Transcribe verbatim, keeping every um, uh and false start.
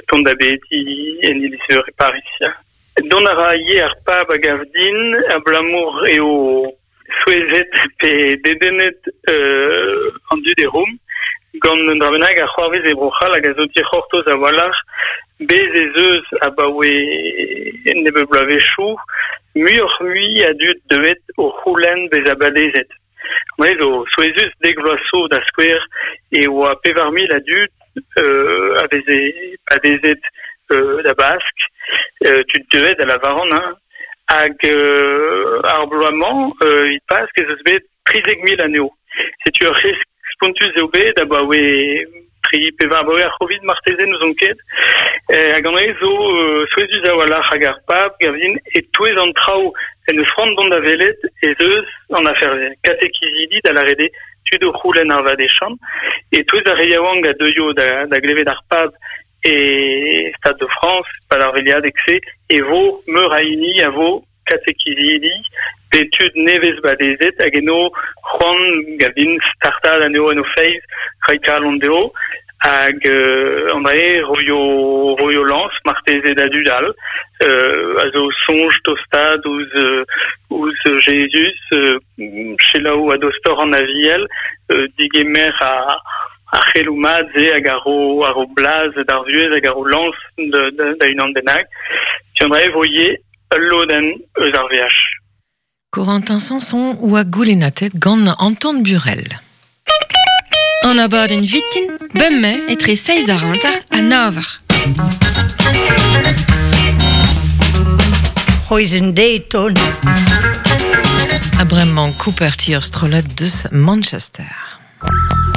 tont da bedi en iliz-veur e Paris. Ya. Dont a ra ivez ar pab a gav din, abalamour eo souezhet pe dedennet euh, an dud e Rom, gant un dra bennak a c'hoarvez e Bro-C'hall hag a zo dic'hortoz a-walc'h, bez ez eus abaoe nebeut bloavezhioù, muioc'h-mui a dud deuet o c'houlenn bezañ badezet. Mez zo souezhus dek vloaz zo da skouer e oa pevar mil a dud euh, a veze badezet euh, da Bask, euh, tud deuet a lavaran, hein, hag euh, ar bloaz-mañ euh, e Pask ez eus bet trizek mil anezho. Setu ur c'hresk spontus eo bet abaoe tri pevar abaoe ar C'hovid marteze n'ouzon ket. Eh, hag an dra zo euh, souezhus a-walc'h hag ar pab gavin e-touez an traoù en eus c'hoant dont da welet ez eus an afer-se. Katekizidi da lâret eo tud o c'houlenn ar vadechant. E-touez ar re yaouank a deuio da, da glevet ar pab e Stade de France, pad ar veliadeg-se, e vo meur a hini a vo katekizidi pe tud nevez badezet hag eno c'hoant gavin startad anezho en o feiz, reiñ kalon dezho, hag euh, an dra roio, roio lañs marteze da dud all, euh, a zo soñj tostaat ouzh, euh, ouzh Jezuz, euh, selaou a-dostoc'h an Aviel, euh, digemer a, ar c'heloù mat-se hag a ro, a ro blaz d'ar vuhez hag a ro lañs da, da, da unan bennak. Setu an dra e vo ivez ul lodenn eus ar veaj. Corentin Sanson oa goulennatet gant Anton Burel. An abadenn vintin, bemdez etre seizh eur hanter ha nav eur. C'hwezh deiz ton. Ha bremañ Cooper Tier strollad deus Manchester.